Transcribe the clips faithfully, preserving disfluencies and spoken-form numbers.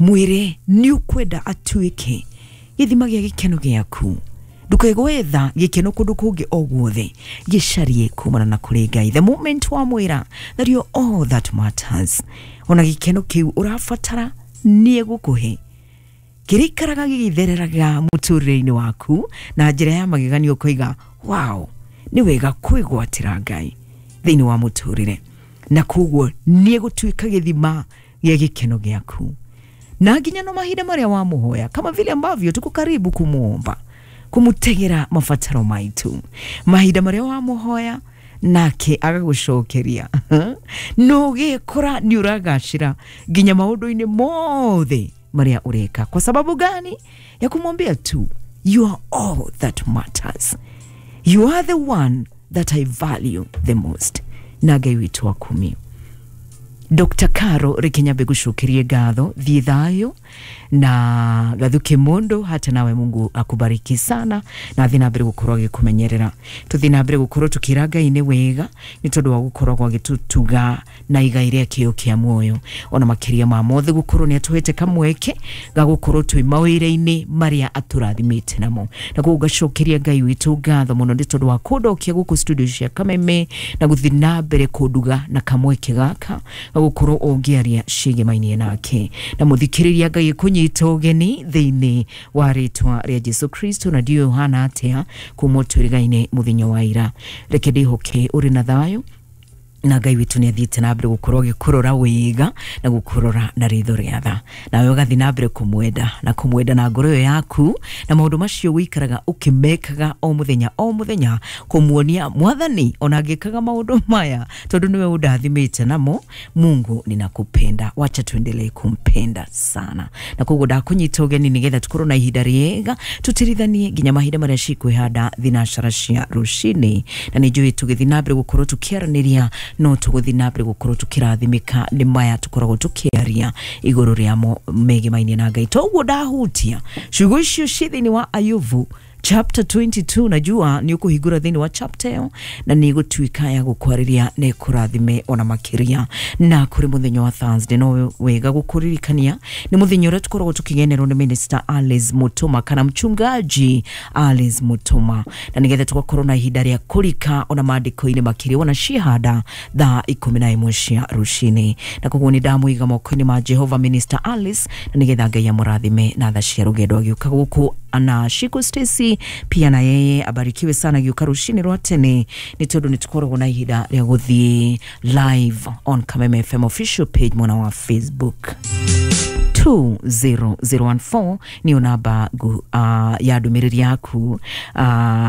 Mwĩre nĩ ũkwenda atuĩke gĩthima gĩa gĩkeno gĩaku. Ndũkae gwetha gĩkeno kũndũ kũngĩ o guothe, gĩcarie kumana na kũrĩ Ngai. The moment wamwĩra that you're all that matters, ona gĩkeno kĩu ũrabatara nĩ egũkũhe, kĩrĩikaraga gĩgĩthereraga mũtũrĩre-inĩ waku na njĩra ya mageganio. Ũkoiga, "Wow, nĩ wega kwĩgwatĩra Ngai thĩinĩ wa mũtũrĩre." Na koguo nĩ egũtuĩka gĩthima gĩa gĩkeno gĩaku, na nginya no mahinda marĩa wamũhoya, kama vile ambavyo tuko karibu kumuomba, kumutegera mabataro maitu, mahinda marĩa wamũhoya nake agagũcokeria, no ũgĩkora nĩ ũragacĩra nginya maũndũ-inĩ mothe marĩa ũreka. Kwa sababu gani? Ya kumwambia tu, "You are all that matters. You are the one that I value the most." Na Ngai witũ akumio. Doctor Caro, reke nyambe gucokerie ngatho. Thiĩ thayũ na gathuke mundu. Hata nawe Mungu akubariki sana na thiĩ na mbere gukorwo agĩkũmenyerera. Tũthiĩ na mbere gũkorwo tũkĩra Ngai nĩ wega nĩ tondũ wa gũkoragwo agĩtũtuga na igai rĩa kĩo kĩa muoyo, ona makĩria ma mothe gũkorwo nĩ atũhete kamweke ga gũkorwo twĩ mawĩra-inĩ marĩa atũrathimĩte namo. Na koguo ngacokeria Ngai witũ ngatho mũno nĩ tondũ wa kũndokia gũkũ studio cia Kameme na gũthiĩ na mbere kũnduga na kamweke gaka ga gũkorwo ũngĩaria ciĩgemainie nake na mũthikĩrĩria. Ngai kũnyita ũgeni thĩinĩ wa rĩtwa rĩa Jesu Kristo. Na ndiũĩ ũhana atĩa kuma twĩrĩgaine mũthenya wa ira. Reke ndĩhoke ũrĩ na thayũ, na Ngai witũ nĩ athiĩte na mbere gũkorwo agĩkũrora wega na gũkũrora na ritho rĩa tha, nawe ũgathiĩ na mbere kũmwenda na kũmwenda na ngoro ĩyo yaku, na maũndũ macio wĩikaraga ũkĩmekaga o mũthenya o mũthenya, kũmuonia Mwathani, ona ngĩkaga maũndũ maya tondũ nĩwe ũndathimĩte namo, Mungu ninakupenda, wacha tuendelee kumpenda sana. Na koguo ndakũnyita ũgeni nĩgetha tũkorwo na ihinda rĩega tũtirithanie nginya mahinda marĩa cikwĩhanda thinacara cia rũcinĩ. Na nĩ njũĩ tũgĩthiĩ na mbere gũkorwo tũkĩaranĩria, no tũgũthiĩ na mbere gũkorwo tũkĩrathimĩka nĩ maya tũkoragwo tũkĩaria igũrũ rĩamo megemainie na Ngai. Toguo ndahutia ciugo icio ciĩ thĩinĩ wa Ayubu chapter twenty-two. Najua nĩ ũkũhingũra thĩinĩ wa chapter ĩyo na nĩ ĩgũtuĩka ya gũkwarĩria na ĩkũrathime ona makĩria. Na kũrĩ mũthenya wa Thursday, no wega gũkũririkania nĩ mũthenya ũrĩa tũkoragwo tũkĩgenerwo nĩ Minister Alice Mutuma kana Mchungaji Alice Mutuma, na nĩgetha tũgakorwo na ihinda rĩa kũrika ona maandĩko-inĩ makĩria, ona cihanda thaa ikũmi na ĩmwe cia rũcinĩ. Na koguo nĩ ndamũiga moko-inĩ ma Jehova Minister Alice, na nĩgetha Ngai amũrathime na tha cia rũgendo agĩũka gũkũ. Na Shiko Stacy pia na yeye abarikiwe sana agĩũka rũcinĩ rwa tene, nĩ tondũ nĩ tũkoragwo na ihinda rĩa gũthiĩ live on Kameme F M official page mwena wa Facebook. two zero zero one four niyo namba ngu, uh, ya ndũmĩrĩri yaku. uh,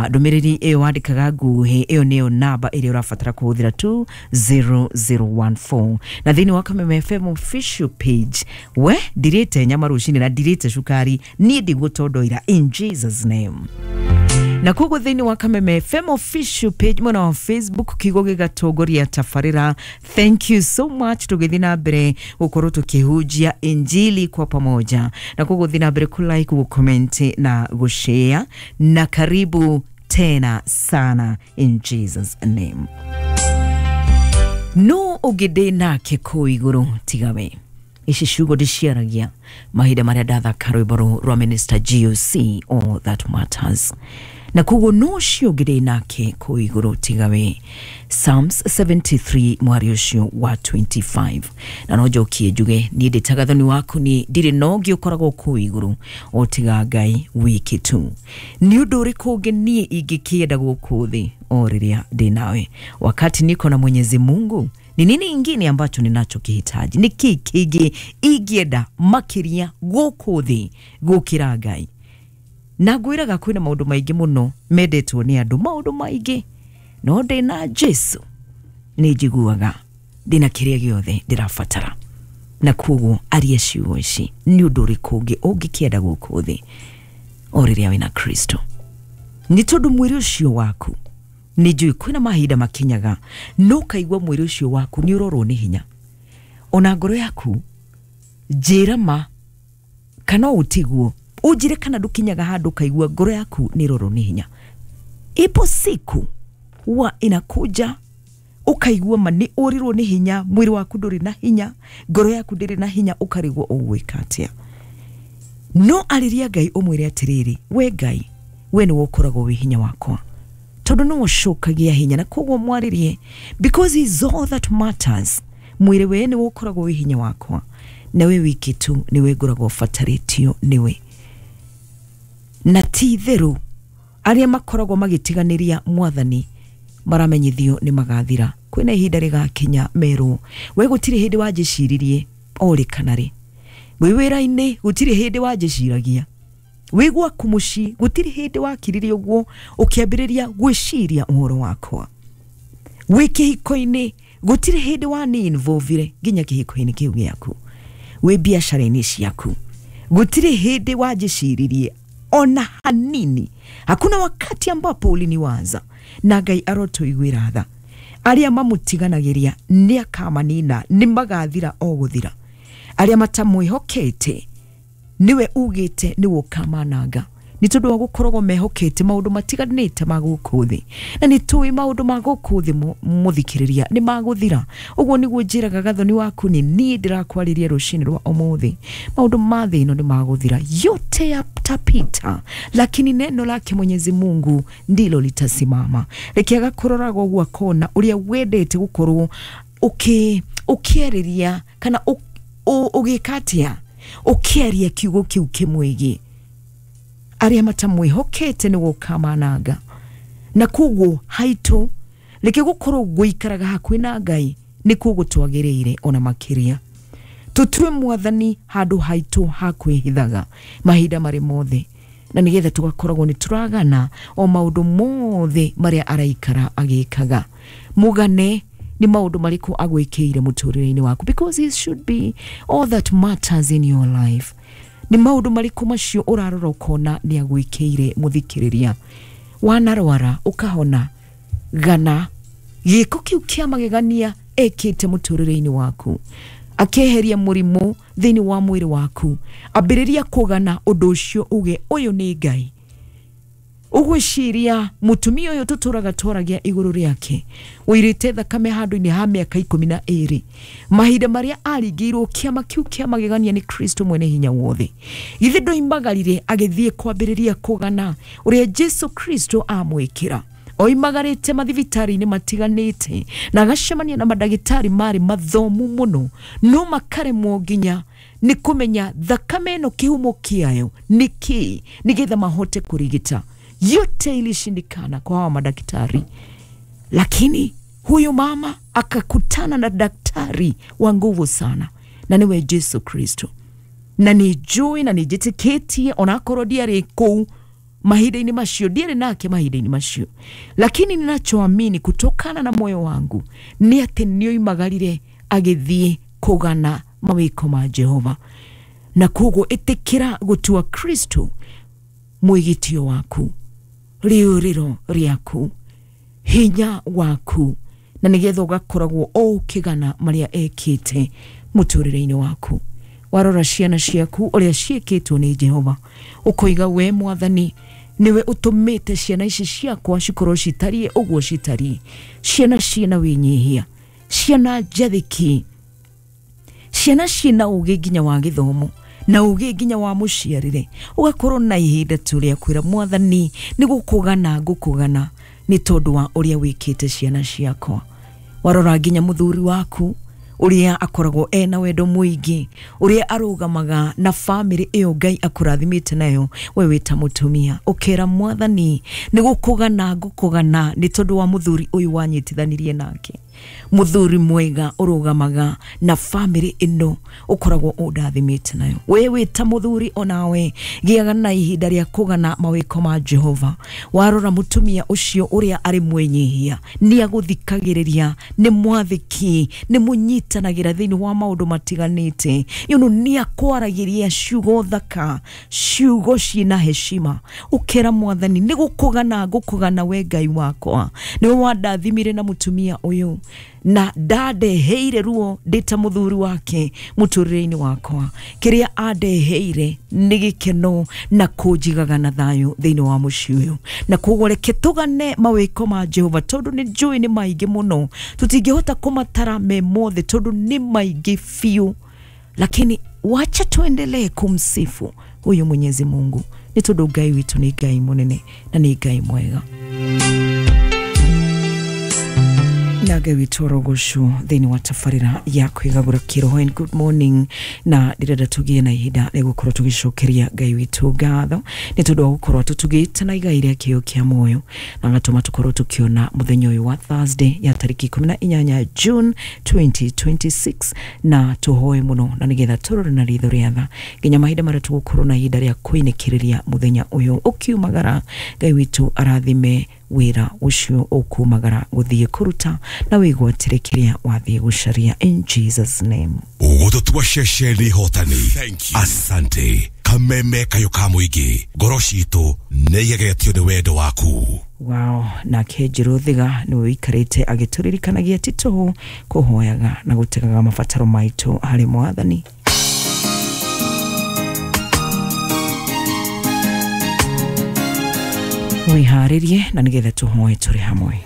ndũmĩrĩri ĩyo wandĩkaga nguhĩ, ĩyo nĩyo namba ĩrĩa ũrabatara kũhũthĩra, two zero zero one four. Na thĩinĩ wa Kameme F M official page, we ndirĩte nyama rũcinĩ na ndirĩte cukari, niĩ ndigũtondoira in Jesus name. Na koguo thĩinĩ wa Kameme F M official page mwena wa Facebook, kiugo gĩgatongoria tabarĩra. Thank you so much. Tũgĩthiĩ na mbere gũkorwo tũkĩhunjia injili kwa pamoja, na koguo thiĩ na mbere kulike, gũcomment na gũshare, na karibu tena sana in Jesus name. No ũngĩ ndĩ nake kũu igũrũ tiga we. Ici ciugo ndĩciaragia mahinda marĩa ndathaka rwĩmbo rũu rwa Minister G O C, All That Matters. Na koguo no ũcio ũngĩ ndĩ nake kũu igũrũ tiga we, Psalms seventy-three mwari ũcio wa twenty-five. Na no njokie njuge niĩ ndĩ thoni waku, ni ndirĩ na ũngĩ ũkoragwo kũu igũrũ o tiga Ngai wiki tu. Nĩ ũndũ ũrĩkũ ũngĩ niĩ ingĩkĩenda gũkũ thĩ o rĩrĩa ndĩ nawe? Wakati niko na Mwenyezi Mungu, ni nini ingine ambacho ninachokihitaji? Nĩ kĩ kĩngĩ ingĩenda makĩria gũkũ thĩ gũkĩra Ngai? Na ngwĩraga kwĩna maũndũ maingĩ mũno mendetwo nĩ andũ, maũndũ maingĩ, no ndĩna Jesu nĩ njiguaga ndĩna kĩrĩa gĩothe ndĩrabatara. Na koguo aria ciugo ici, nĩ ũndũ ũrĩkũ ũngĩ ũngĩkĩenda gũkũ thĩ o rĩrĩa wĩna Kristo? Nĩ tondũ mwĩrĩ ũcio waku, nĩ njũĩ kwĩna mahinda makinyaga no ũkaigua mwĩrĩ ũcio waku nĩ ũrorwo nĩ hinya, ona ngoro yaku. Njĩra ma kana ũtiguo, ũnjĩre kana ndũkinyaga handũ ũkaigua ngoro yaku nĩ ĩrorwo nĩ hinya. Ipo siku huwa inakuja Ũkaigua ma nĩ ũrirwo nĩ hinya, mwĩrĩ waku ndũrĩ na hinya, ngoro yaku ndĩrĩ na hinya, ũkarigwo ũgwĩka atĩa. No arĩria Ngai ũmwĩre atĩrĩrĩ, we Ngai, we nĩwe ũkoragwo wĩ hinya wakwa, tondũ nĩwe ũcokagia hinya. Na koguo mwarĩrie, because he is all that matters. Mwĩrĩ we nĩwe ũkoragwo wĩ hinya wakwa, na we wiki tu nĩwe ngoragwo batarĩtio nĩwe. Na ti itherũ arĩa makoragwo magĩtiganĩria mwathani maramenyithio nĩ magathira. Kwĩna ihinda rĩgakinya merwo, we gũtirĩ hĩndĩ wanjĩciririe orĩ kana rĩ, wĩ wĩra-inĩ gũtirĩ hĩndĩ wanjĩciragia, wĩ gwaku mũciĩ gũtirĩ hĩndĩ wakiririe ũguo ũkĩambĩrĩria gwĩciria ũhoro wakwa, wĩ kĩhiko-inĩ gũtirĩ hĩndĩ wani involvire nginya kĩhiko-inĩ kĩu gĩaku, wĩ biacara-inĩ ciaku gũtirĩ hĩndĩ wanjĩciririe ona hanini. Hakuna wakati ambapo uliniwaza. Na Ngai arotũiguĩra tha. Arĩa mamũtiganagĩria nĩ akamanina, nĩ magathira o gũthira. Arĩa matamwĩhokete niwe ugĩte nĩwe ũkamananga, nĩ tondũ wa gũkoragwo mehokete maũndũ matiganĩte ma gũkũ thĩ. Na nĩ tũĩ maũndũ ma gũkũ thĩ mũthikĩrĩria nĩ magũthira. Ũguo nĩguo njĩraga Gathoni waku, nĩ niĩ ndĩrakwarĩria rũcinĩ rwa ũmũthĩ. Maũndũ ma thĩ ĩno nĩ magũthira, yote yatapita, lakini neno lake Mwenyezi Mungu ndilo litasimama. Reke agakũroraga ũguo akona ũrĩa wendete gũkorwo ũkĩ ũkĩarĩria kana ũgĩka atĩa, ũkĩaria kiugo kĩu kĩmwĩgiĩ. Arĩa matamwĩhokete nĩwe ũkamananga. Na koguo haitũ reke gũkorwo gũikaraga hakuhĩ na Ngai nĩkuo gũtwagĩrĩire ona makĩria. Tũtue mwathani handũ haitũ ha kwĩhithaga mahinda marĩ mothe, na nĩgetha tũgakoragwo nĩ tũragana o maũndũ mothe marĩa araikara agĩkaga. Mũgane nĩ maũndũ marĩkũ agwĩkĩire mũtũrĩre-inĩ waku, because it should be all that matters in your life. Nĩ maũndũ marĩkũ macio ũrarora ũkona nĩ agwĩkĩire mũthikĩrĩria. Wanarwara ũkahona, gana gĩko kĩu kĩa magegania ekĩte mũtũrĩre-inĩ waku, akeheria mũrimũ thĩinĩ wa mwĩrĩ waku, ambĩrĩria kũgana ũndũ ũcio uge ũyũ nĩ Ngai. Ũgwĩciria mũtumia ũyũ tũtũraga twaragia igũrũ rĩake ũirĩte thakame handũ-inĩ ha mĩaka ikũmi na ĩrĩ, mahinda marĩa aringĩirwo kĩama kĩu kĩa magegania nĩ Kristo mwene hinya wothe, githĩ ndoimagarire agĩthiĩ kwambĩrĩria kũgana ũrĩa Jesu Kristo amwĩkĩra. Oimagarĩte mathibitarĩ-inĩ matiganĩte na agacemania na mandagĩtarĩ marĩ mathomu mũno, no makaremwo nginya nĩ kũmenya thakame ĩno kĩhumo kĩayo nĩ kĩĩ nĩgetha mahote kũrigita. Yote ilishindikana kwa hawa madaktari, lakini huyu mama akakutana na daktari wa nguvu sana, na niwe Jesu Kristo. Na nĩ njũĩ na nĩ njĩtĩkĩtie onakorwo ndiarĩ kũu mahinda-inĩ macio, ndiarĩ nake mahinda-inĩ macio, lakini ninachoamini kutokana na moyo wangu nĩ atĩ nĩoimagarire agĩthiĩ kũgana mawĩko ma Jehova. Na koguo ĩtĩkĩra gũtua Kristo mwĩgitio waku, rĩũrĩro rĩaku, hinya waku, na nĩgetha ũgakoragwo o ũkĩgana marĩa ekĩte mũtũrĩre-inĩ waku. Warora ciana ciaku ũrĩa ciĩkĩtwo nĩ Jehova, ũkoiga we mwathani nĩwe ũtũmĩte ciana ici ciakwa cikorwo citariĩ ũguo citariĩ, ciana ciĩna wĩnyihia, ciana njathĩki, ciana ciĩna ũgĩ nginya wa gĩthomo na ũgĩ nginya wa mũciarĩre. Ũgakorwo na ihinda tu rĩa kwĩra mwathani nĩ gũkũgana ngũkũgana nĩ tondũ wa ũrĩa wĩkĩte ciana ciakwa. Warora nginya mũthuri waku ũrĩa akoragwo ena wendo mũingĩ, ũrĩa arũgamaga na famĩlĩ ĩyo Ngai akũrathimĩte nayo, we wĩ ta mũtumia ũkera mwathani nĩ gũkũgana ngũkũgana nĩ tondũ wa mũthuri ũyũ wanyitithanirie nake, mũthuri mwega ũrũgamaga na famĩlĩ ĩno ũkoragwo ũndathimĩte nayo. We wĩ ta mũthuri onawe gĩaga na ihinda rĩa kũgana mawĩko ma Jehova. Warora mũtumia ũcio ũrĩa arĩ mwĩnyihia, nĩ agũthikagĩrĩria, nĩ mwathĩki, nĩ mũnyitanagĩra thĩinĩ wa maũndũ matiganĩte, you know, nĩ akwaragĩria ciugo thaka, ciugo ciĩna heshima. Ũkera mwathani nĩ gũkũgana ngũkũgana we Ngai wakwa, nĩwe wandathimire na mũtumia ũyũ, Na ndandeheire ruo ndĩ ta mũthuri wake mũtũrĩre-inĩ wakwa. Kĩrĩa andeheire nĩ gĩkeno na kũnjigaga na thayũ thĩinĩ wa mũciĩ ũyũ. Na koguo reke tũgane mawĩko ma Jehova, tondũ nĩ njũĩ nĩ maingĩ mũno, tũtingĩhota kũmatara me mothe tondũ nĩ maingĩ biũ, lakini wacha tuendelee kumsifu huyu Mwenyezi Mungu nĩ tondũ Ngai witũ nĩ Ngai mũnene na nĩ Ngai mwega. Na Ngai witũ orogocwo thĩinĩ wa tabarĩra ya kwĩgagũra kĩroho. And good morning. Na ndĩrenda tũgĩe na ihinda rĩa gũkorwo tũgĩcokeria Ngai witũ ngatho nĩ tondũ wa gũkorwo tũtugĩte na igai rĩa kĩo kĩa muoyo, na agatũma tũkorwo tũkĩona mũthenya ũyũ wa Thursday ya tarĩki ikũmi na inyanya June twenty twenty-six. Na tũhoe mũno na nĩgetha tũrore na ritho rĩa tha nginya mahinda marĩa tũgũkorwo na ihinda rĩa kũinĩkĩrĩria mũthenya ũyũ ũkiumagara. Ngai witũ arathime wĩra ũcio ũkumagara gũthiĩ kũruta na wĩgwatĩre kĩrĩa wathiĩ gũcaria, in Jesus name. Gũtũtua ceceni hotani. Asante kameme kayo ka mũingĩ, ngoro citũ nĩ igegetio nĩ wendo waku. Wow, nake Njiruthiga nĩwe ũikarĩte agĩtũririkanagia ti tũhũ kũhoyaga na gũtegaga mabataro maitũ harĩ Mwathani. Wĩharĩrie na nĩgetha tũhoe tũrĩ hamwe.